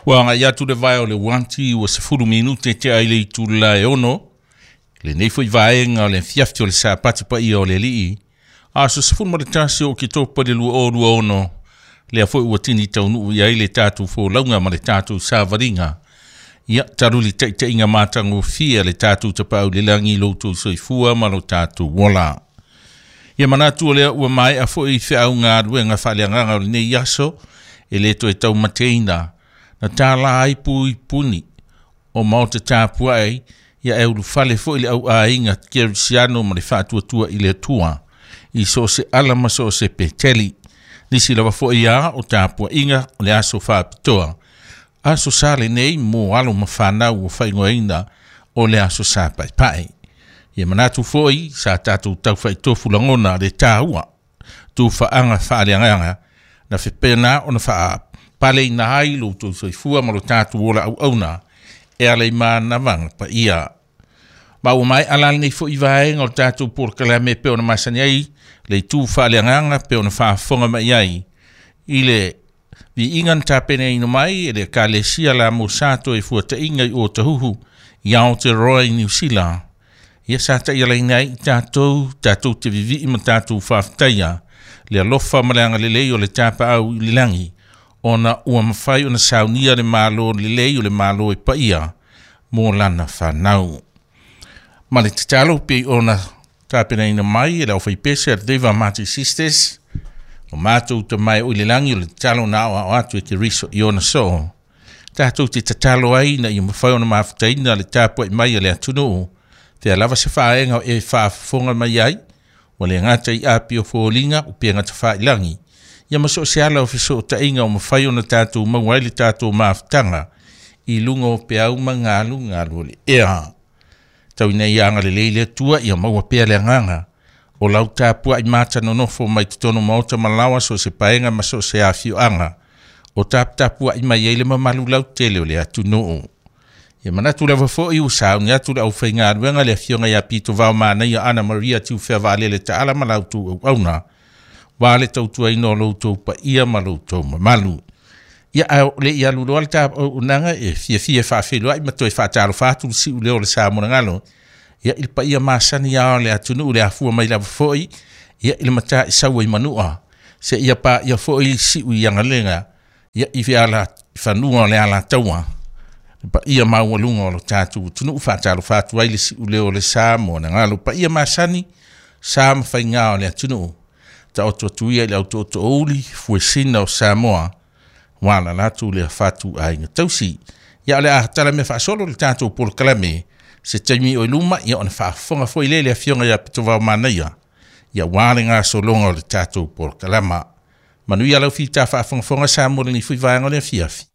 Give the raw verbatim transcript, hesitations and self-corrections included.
Ua agai atu le vae o le uati ua sefulu minute tea i le itula e ono lenei foi vaega o le afiafi o le Sapati paia o le Alii, aso sefulu ma le tasi o Oketopa i le lua o lua ono, lea foi ua tini taunuu i ai le tatou folauga ma le tatou savaliga. Ia talu le taitaiga matagofie a le tatou Tapaau i le lagi i lo outou soifua ma lo tatou ola. Ia manatu o lea ua maea foi feauga galuega faaleagaga o lenei aso e le toe taumateina na tāla ai pui puni o maota tapuai ia e ulufale foi le auaiga kerisiano ma le faatuatua i le Atua i so o se ala ma so o se peteli. Nisi lava foi a o tapuaiga o le aso faapitoa. Aso Sa lenei mo alo ma fanau ua faaigoaina o le aso Sa Paepae. Ia manatu foi sa tatou taufaitofu lagona le taua tufaaga faaleagaga na fepena ona faapaleina ai lo outou soifua ma lo tatou ola auauna e ala i manavaga paia. Ma ua maea la lenei foi vaega o le tatou polokalame pe ona masani ai le itu faaleagaga pe ona faafofoga mai ai i le viiga na tapenaina mai e le Ekalesia La Mosato e fuataiga i Otahuhu i Aotearoa i Niu Sila. Ia sa taialaina ai i tatou tatou te vivii ma tatou faafetaia le alofa ma le agalelei o le Tapaau i le lagi ona ua mafai ona saunia le malo lelei o le malo e paia mo lana fanau. Ma le tatalo pei ona tapenaina mai e le aufaipese a le Deva Marty Sisters o matou tamae o i le lagi o le tatalo na aoao atu e Keriso i ona soo. Tatou te tatalo ai ina ia mafai ona mafutaina le tapuai mai a le atunuu fea lava se faaega e faafofoga mai ai ua le gata i api o foliga upega tafailagi ia ma so o se ala o fesootaiga o mafai ona tatou maua ai le tatou mafutaga i luga o peau ma galugalu o le ea. Tau ina ia agalelei le Atua ia maua pea le agaga o lau tapuai mata nonofo mai totonu maota ma laoa so o se paega ma so o se afioaga o taputapuai mai ai le mamalu lautele o le atunuu. Ia manatu lava foi ua sauni atu le aufaigaluega le afioga ia Pito Vaomanaia Ana Maria Tiufea Vaalele Taala ma la outou auauna ua le tautuaina o lo outou paia ma lo outou mamalu. Ia ae le i alu loa le auaunaga e fiafia e faafeiloai ma toe faatalofa atu le siu leo o le sa monogalo ia i le paia masani a o le atunuu le afua mai lava foi ia i le mataisau ai manua seia paia foi siu i agalega ia i ala fanua o le alataua le paia maualuga o lo tatou atunuu. Faatalofa atu ai le siu leo o le sa monogalo paia masani sa ma faiga o le atunuu taoto atu ia i le autootoouli fuesina o Samoa ua la latou le fatu aiga tausi. Ia o le a tala mea faasolo le tatou polokalame se taimi o i luma ia ona faafofoga foi lea i le afioga ia Pitovao Manaia ia ua le gasologa o le tatou polokalama. Manuia lau fita faafogafoga Samoa lenei foi vaega o le afiafi.